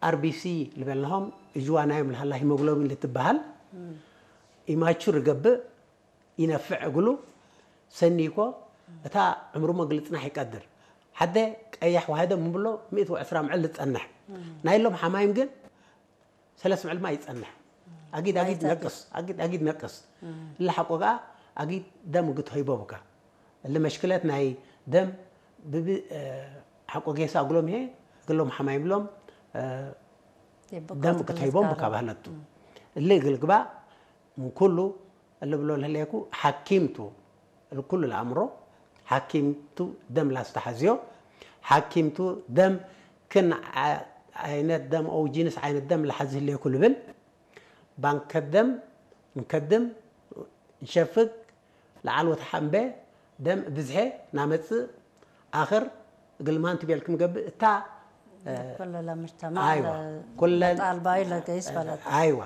ኣርቢሲ ዝበልናሆም እጅዋናዮም ልሃላ ሂሞግሎቢን ልትበሃል ኢማቹር ይገብእ፣ ይነፍዕ እግሉ ሰኒኮ እታ ዕምሩ መግሊ ጽናሕ ይቀድር። ሓደ ቀያሕ ዋህደ ምብሎ ሚእቲ ወዕስራ ምዕል ዝጸንሕ ናይ ሎም ሓማይም ግን ሰለስ ምዕል ማ ይጸንሕ። ኣጊድ ኣጊድ ነቅስ ኣጊድ ኣጊድ ነቅስ። እለ ሓቆ ከኣ ኣጊድ ደም ግት ሆይቦ ብካ። እለ መሽክለት ናይ ደም ብብ ሓቆ ጌሳ እግሎም ይሄ እግሎም ሓማይም ሎም ደም ክትህቦም ብካ ባህለቱ። እለ እግል ግባ ምን ኩሉ እለ ብሎ ለህለየኩ ሓኪምቱ እለ ኩሉ ለኣምሮ ሓኪምቱ ደም ላስተሓዝዮ ሓኪምቱ ደም ክን ዓይነት ደም ኦው ጂንስ ዓይነት ደም ለሓዚ ህለየኩ ልብል ባንከት ደም ንከድም ንሸፍግ ለዓል ወተሓምበ ደም ብዝሐ ናመጽእ ኣኽር እግልማን ትቤል ክምገብእ እታ ኩሉ ለምጅተማዕ ኣይዋ ኩለን ጣልባዩ ለገይስ በለት ኣይዋ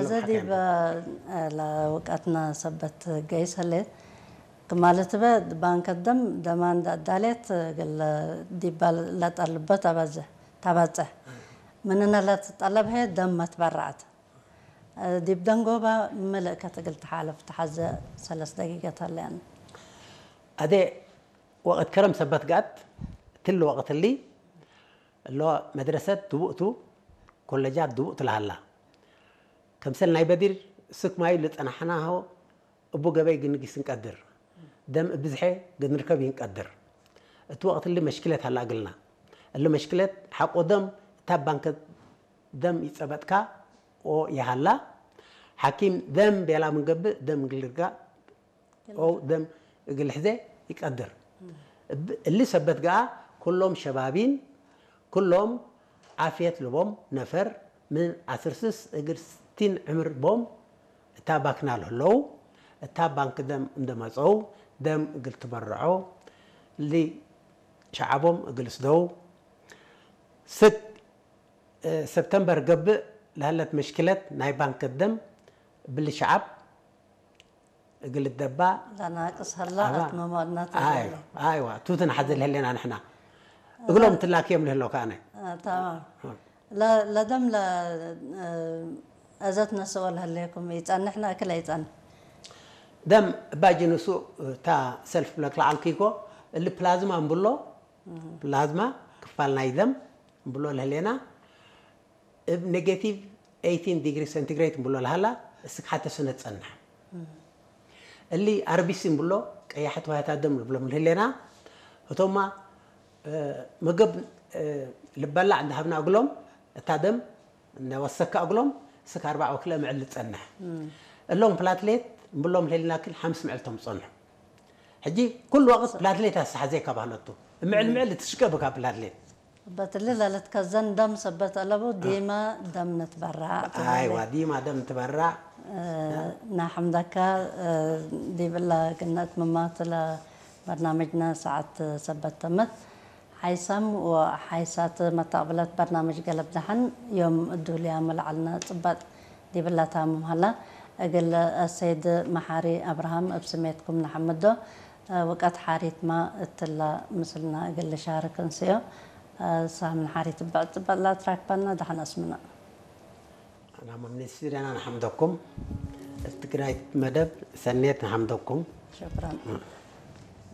እዚ ዲብ ለውቀትና ሰበት ገይስ ህሌት ክማለት በ ባንከት ደም ደማን ዳዳሌት ግል ዲባ ለጠልበት ተበጽሕ ምንነ ለትጠለብ ሄ ደም መትበራዕት ዲብ ደንጎባ ምልእ ከትግል ተሓለፍ ተሓዘ ሰለስ ደቂቀት ኣለያን። ኣደ ወቅት ከረም ሰበት ጋት ትል ወቅት ሊ እሎ መድረሰት ድቡእቱ ኮለጃት ድቡእቱ ለሃላ ከምሰል ናይ በዲር ስክ ማዩ ልጸናሕናሆ እቡ ገበይ ግንጊስ እንቀድር ደም እብዝሐ ግንርከብ ይንቀድር። እቲ ወቅት እሊ መሽክለት ሃላ እግልና እሊ መሽክለት ሓቆ ደም እታ ባንከ ደም ይጸበጥካ ኦ ይሃላ ሓኪም ደም ቤላ ምንገብእ ደም ግልርጋ ኦ ደም እግል ሕዘ ይቀድር። እሊ ሰበት ገኣ ኩሎም ሸባቢን ኩሎም ዓፍየት ልቦም ነፈር ምን ዓስር ስስ እግል ስቲን ዕምር ቦም እታ ባክና ልህለው እታ ባንክ ደም እንደመጸው ደም እግል ትበርዖ ሊ ሸዓቦም እግል ስደው ስክ ሰብተምበር ገብእ ለሀለት መሽክለት ናይ ባንክ ደም ብሊ ሸዓብ እግል ደባ ላናቅስ ሀላ ኣትመማድናት ኣይዋ ቱትን ሓዘ ልህሌና ንሕና እግሎም ትላክዮም ልህለው ከኣነ ተማም ለደም ለእዘት ነስኦ ለህሌኩም ይጸንሕና እክል ኣይጸንሕ ደም እባ ጅንሱ እታ ሰልፍ ብለክ ለዓልኪ እኮ እሊ ፕላዝማ እንብሎ ፕላዝማ ክፋል ናይ ደም እንብሎ ለህሌና እብ ኔጌቲቭ ኤይቲን ዲግሪ ሴንቲግሬድ እንብሎ ለሃላ እስክ ሓተ ስነ ትጸንሕ እሊ ኣርቢሲ እንብሎ ቀያሕቲ ዋህታ ደም ንብሎም ልህሌና እቶማ መገብ ልበላዕ እንዳሃብና እግሎም እታ ደም እናወሰካ እግሎም ስክ ኣርባዕ ወክለ ምዕል ዝጸንሕ እሎም ፕላትሌት እንብሎም ልህሌና ክል ሓምስ ምዕል ቶም ዝጸንሑ ሕጂ ኩሉ ወቅት ፕላትሌት ኣሰሓዘካ ባህለቱ ምዕል ምዕል ትሽቀብካ ፕላትሌት በትሊ ለልትከዘን ደም ሰበት ኣለቡ ዲማ ደም ንትበራዕ ኣይዋ ዲማ ደም ትበራዕ ናሐምደካ ዲብላ ግነት ምማትለ በርናምጅና ሰዓት ሰበት ተመት ሓይሳም ወሓይሳት መታቅብለት በርናምጅ ገለብ ደሓን ዮም እዱልያ መላዓልና ጽባጥ ዲብላ ታምም ሃላ እግል ሰይድ መሓሪ ኣብርሃም እብ ስሜትኩም ንሓምዶ ውቀት ሓሪትማ እትላ ምስልና እግል ሻርክ እንስዮ ሳምን ሓሪት በዕ ጽባጥ ላትራክባና ደሓን ኣስምና ኣና መምኔት ስቱዲያና ንሓምደኩም እትግራይ መደብ ሰኔት ንሓምደኩም ሽክራን